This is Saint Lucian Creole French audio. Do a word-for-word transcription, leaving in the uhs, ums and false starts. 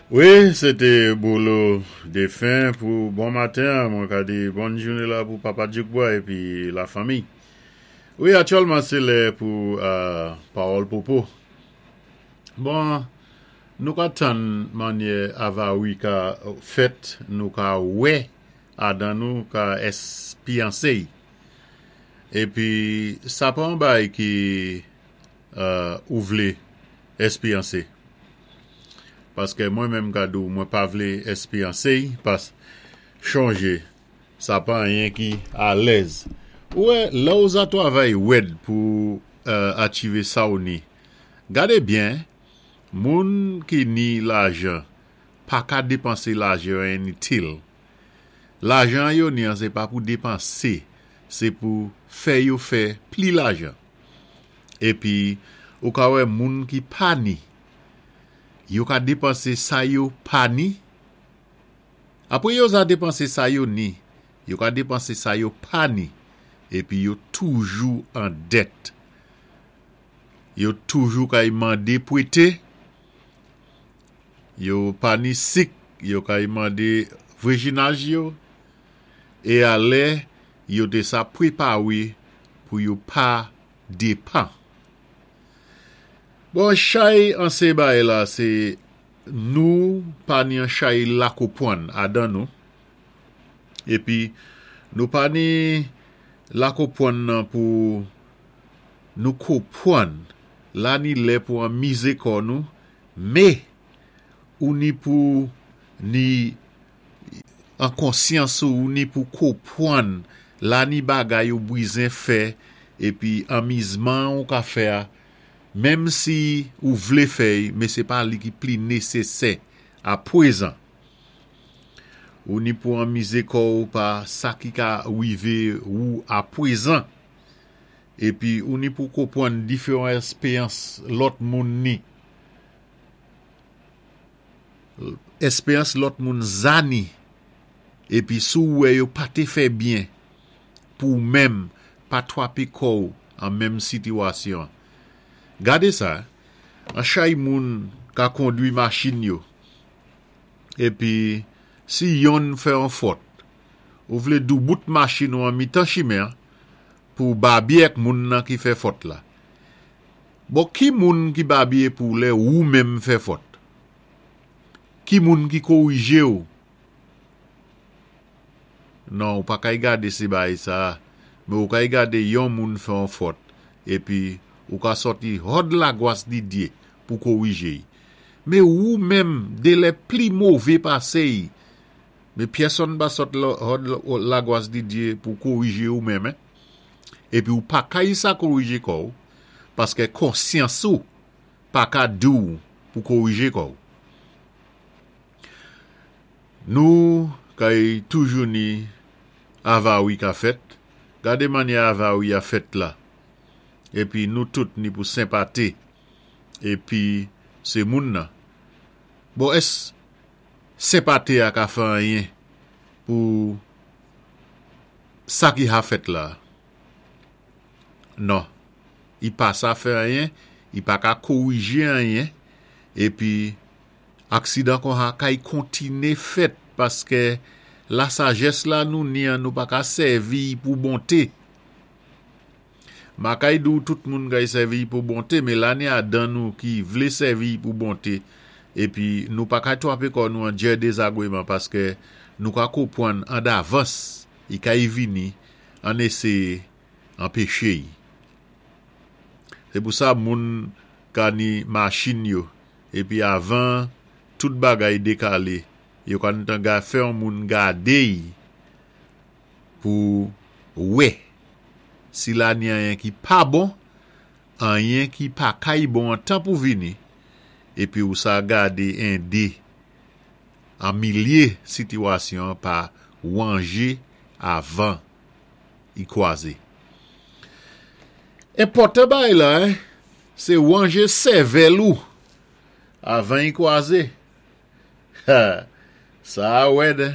Wi, sé té Bolo Défin pou bon maten, mwen ka di bòn jounen la pou Papa Djoukbois épi la fanmi. Wi, aktyèlman sé lè pou euh, Pawòl Popo. Bon, nou ka tann mannyè avari ka fèt, nou ka wè adan nou ka èspéyansé. Épi, sa pa an bay ki euh, ou vlé èspéyansé. Paskè mwen menm ka di ou mwen pa vlé èspéyansé, pas chonjé, sa pa anyen ki alèz. Ouwè, lè ou za twavay wèd pou euh, achivé sa ou ni. Gadé byen, moun ki ni lajan, pa ka dépansé lajan initil. Lajan yo ni an, sé pa pou dépansé, sé pou fè yo fè pli lajan. Épi, ou ka wè moun ki pa ni, yo ka dépansé sa yo pa ni. Apwé yo za dépansé sa yo ni, yo ka dépansé sa yo pa ni, épi yo toujou an dèt. Yo toujou kay mandé pwété, yo pa ni sik, yo kay mandé vwéjinaj yo, é alè yo té sa pwépawé pou yo pa dépan. Bon, chay an sé bay la, sé nou pa ni an chay lakopwann adan nou. Épi, nou pa ni lakopwann nan pou nou kopwann. La ni lè pou anmizé kò nou, mé ou ni pou ni an konsyans ou ni pou kopwann la ni bagay ou bwizen fè épi anmizman ou ka fè a, menm si ou vlé fè, mé sé pa li ki pli nésésè a pwézan. Ou ni pou anmizé kò ou pa sa ki ka wivé ou a pwézan. Épi ou ni pou kopwann diféwan èspéyans lòt moun ni. Èspéyans lòt moun za ni. Épi sou wè yo pa té fè byen pou menm pa twapé kò ou an menm sitiwasyon. Gadé sa, an chay moun ka kondwi machin yo. Épi, si yonn fè an fòt, ou vlé doubout machin ou an mitan chimen pou babyé ak moun nan ki fè fòt la. Bon, ki moun ki babyé pou lè ou menm fè fòt? Ki moun ki kowijé ou? Non, ou pa kay gadé sé bay sa, mé ou kay gadé yon moun fè an fòt, épi ou ka sòti hòd lagwas di Dyé pou kowijé. Mé ou menm, dé lè pli mové pasé, mé pyèsonn pa sòt hòd lagwas di Dyé pou kowijé ou menm, épi ou pa kay sa kowijé kò ou, paskè konsyans ou pa ka di ou pou kowijé kò ou. Nou kay toujou ni avari ka fèt, gadé mannyè avari a fèt la. Épi nou tout ni pou senpaté. Épi sé moun nan. Bon, ès senpaté a ka fè anyen pou sa ki ha fèt la? Non. I pa sa fè anyen, i pa ka kowijé anyen, épi aksidan kon ha kay kontiné fèt paskè la sajès la nou ni an nou pa ka sèvi pou bonté. Ma kay di ou tout moun kay sèvi pou bonté, mé la ni adan nou ki vlé sèvi pou bonté, épi nou pa ka twapé kò nou an djè dézagwéman paskè nou ka kopwann an davans, i kay vini an éséyé anpéché. Sé pou sa moun ka ni machin yo, épi avan tout bagay dékalé, yo ka tan ga fè an moun gadé pou wè si la ni anyen ki pa bon, anyen ki pa kay bon an tan pou vini, épi ou sa gadé endé an milyé sitiwasyon pa wanjé avan i kwazé. Enpòtan bay la, hein, sé wanjé sèvèl ou avan i kwazé. Ha, sa wèd.